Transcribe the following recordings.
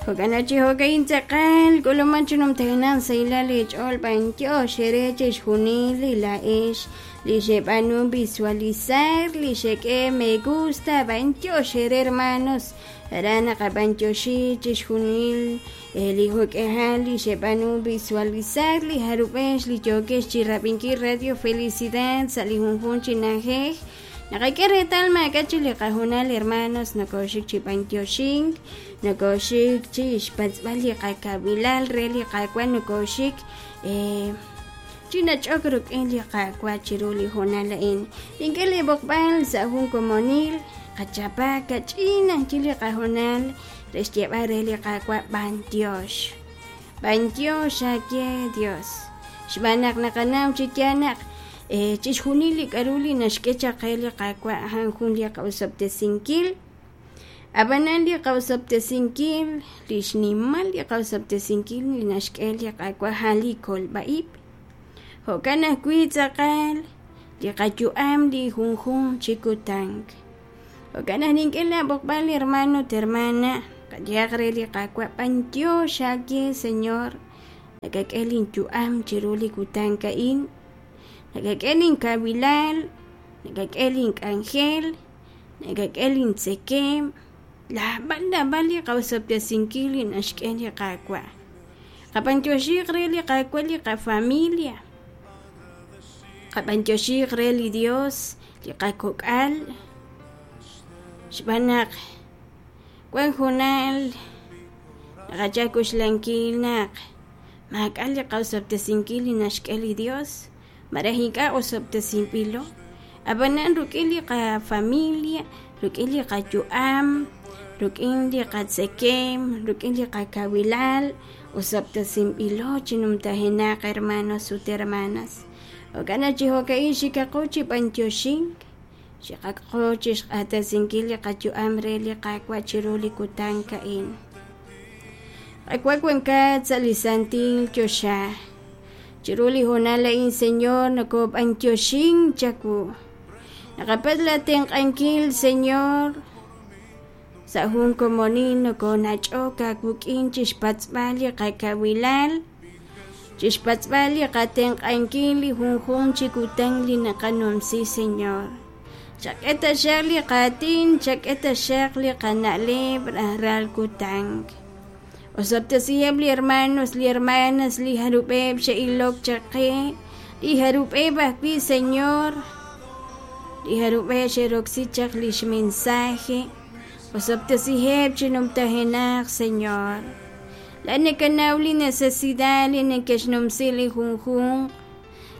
Jo'kan naq chi jo'ka'in tz'aqal k'uluman chi numtajenaq sahilal eech'ool b'antiox eere chixjunil li laa'ex li xeb'aanu visualizar li xek'e me gusta b'antiox eere hermanos aran naqab'antioxi chixjunil li jo'k'ehal li xeb'aanu visualizar li jarub'ex li yookex chi rab'inkil Radio Felicidad sa' li junjunq chi na'ajej naqak'e reetal maak'a' chi li qajunal hermanos nokoxik chi b'antioxink nokoxik chi xpatz'b'al li qakawilal re li Qaawa' nokoxik chi nach'ok rik'in li Qaawa' chiru li hoonal a'in nink'e li b'oqb'al sa' jun komonil qachapa kach'in ajchi li qahoonal re xyeeb'al re li Qaawa' b'antiox b'antiox aawe Dios xb'aan naq naqanaw chi yaal naq chixjunil li k'a'ru li naxk'e chaq qe li Qaawa' a'an jun li qa'osob'tesinkil Ab'anan li qa'osob'tesinkil li xnimal li qa'osob'tesinkil li naxk'e li Qaawa' a'an li kolb'a-ib'. Jo'kan ajwi' tz'aqal li qayu'am li junjunq chi kutan. Jo'kan naq nink'e laab'oqb'al hermano ut hermana, qayehaq re li Qaawa' b'antiox aawe Señor, nakak'e linyu'am chiru li kutan a'in, nakak'e linkawilal, nakak'e link'anjel, nakak'e lintzekeem, naab'al naab'al li qa'osob'tesinkil li naxk'e li Qaawa'. Qab'antioxiiq re li Qaawa' li qafamilia, qab'antioxiiq re li Dios li qakok'al, xb'aan naq wan hoonal naqachal k'oxlankil naq maak'a' li qa'osob'tesinkil li naxk'e li Dios malaj ink'a' osob'tesinb'ilo. Ab'anan rik'in li qafamilia, rik'in li qayu'am, rik'in li qatzekem, rik'in li qakawilal, osob'tesinb'ilo chi numtajenaq hermanos ut hermanas. Jo'kan naq chi jo'ka'in xikaqo chi b'antioxink, xikaqo chi xq'axtesinkil li qayu'am re li Qaawa' chiru li kutan a'in. Qaawa' wankat sa' li santil choxa. Chiru li hoonal a'in, Señor, nokob'antioxink chawu. Naqapatz' la tenq'ankil, Señor. Sa' jun komonil nokonach'ok aawik'in chixpatz'b'al li qakawilal, chixpatz'b'al li qatenq'ankil li junjunq chi kutan li naqanumsi, Señor. Chak'e taxaq li qaatin, chak'e taxaq li qana'leb' rajlal kutan. Osob'tesiheb' li hermanos, li hermanas, li jarub'eb' xe'ilok chaq qe, li jarub'eb' ajwi', Señor, li jarub'eb' xe'roksi chaq lix mensaje. Osob'tesiheb' chi numtajenaq, Señor. Laa'at nakanaw li necesidad li neke'xnumsi li junjunq.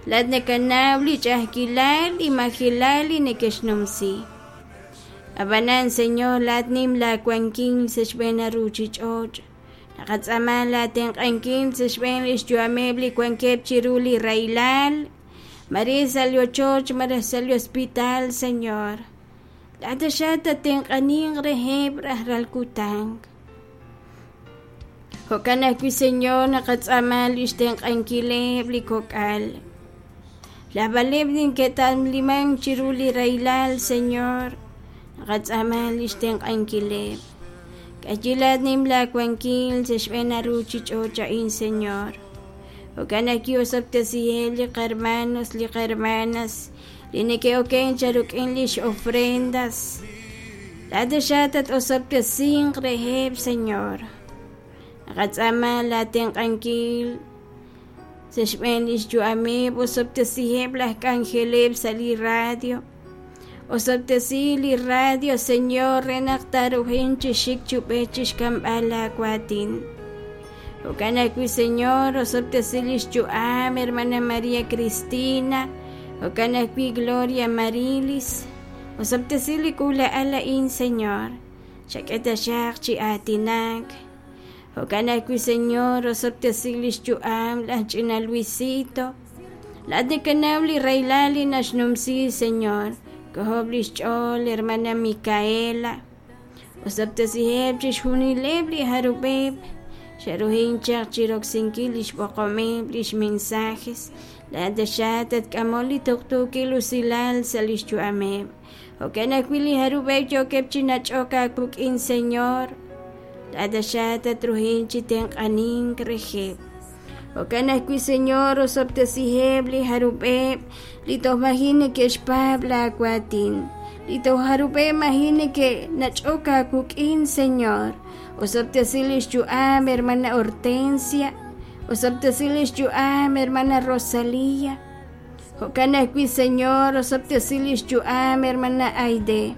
Laa'at nakanaw li ch'a'ajkilal, li majelal li neke'xnumsi. Ab'anan, Señor, laa'at nim laawankil sa' xb'een li ruuchich'och'. Naqatz'aama laatenq'ankil sa' xb'een li xyu'ameb' li wankeb' chiru li rahilal, mare sa' li ochoch malaj sa' li hospital, Señor. Laa'at taxaq tatenq'aninq reheb' rajlal kutan. Jo'kan ajwi', Señor, naqatz'aama li xtenq'ankileb' li kok'al. Naab'aleb' neke'tamlimank chiru li rahilal, Señor, naqatz'aama li xtenq'ankileb'. K'ayilaat nim laawankil sa' xb'een a ruuchich'och' a'in, Señor. Jo'kan naq ki'osob'tesiheb' li qahermanos, li qahermanas li neke'okenk chaq rik'in lix ofrendas. Laa'at taxaq tat-osob'tesinq reheb', Señor. Naqatz'aama laatenq'ankil sa' xb'een lix yu'ameb', osob'tesiheb' laj k'anjeleb' sa' li radio. Osob'tesi li radio, Señor, re naq taaruhin chi xik chub'ej chixk'amb'al laa waatin. Jo'kan ajwi', Señor, osob'tesi lix yu'am, hermana María Cristina, jo'kan ajwi' Gloria Marilis. Osob'tesi li k'uula'al a'in, Señor. Chak'e taxaq chi aatinak. Jo'kan ajwi', Señor, osob'tesi lix yu'am laj ch'ina Luisito. Laa'at nakanaw li rahilal li naxnumsi, Señor. K'ojob' lix ch'ool, hermana Micaela. Osob'tesiheb' chixjunileb' li jarub'eb' xe'ruhin chaq chiroksinkil lix b'oqomeb' lix mensajes. Laa'at taxaq tatk'amol li tuqtuukil usilal sa' lix yu'ameb'. Jo'kan ajwi' li jarub'eb' yookeb' chi nach'ok aawik'in, Señor. Laa'at taxaq tatruhin chi tenq'anink reheb'. Jo'kan ajwi', Señor, osob'tesiheb' li jarub'eb' li toj maji' neke'xpaab' laawaatin, li toj jarub'eb' maji' neke'nach'ok aawik'in, Señor. Osob'tesi li xyu'am hermana Hortensia, osob'tesi li xyu'am hermana Rosalía. Jo'kan ajwi', Señor, osob'tesi li xyu'am hermana Aide.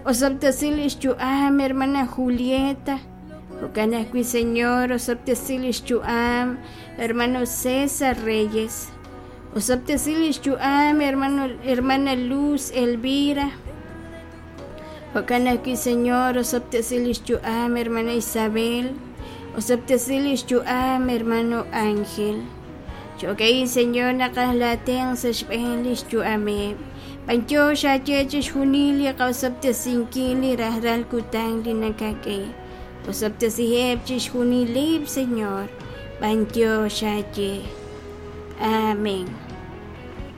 Osob'tesi li xyu'am hermana Julieta. Jo'kan ajwi', Señor, osob'tesi li xyu'am hermano César Reyes. Osob'tesi li xyu'am hermano hermana Luz Elvira. Jo'kan ajwi', Señor, osob'tesi li xyu'am hermana Isabel. Osob'tesi li xyu'am hermano Ángel. Jo'ka'in, Señor, naqaj laatenq' sa' xb'een li xyu'ameb'. B'antiox aawe chixjunil li qa'osob'tesinkil li rajlal kutan li nakak'e. Osob'tesiheb' chixjunileb', Señor. B'antiox aawe. Amén.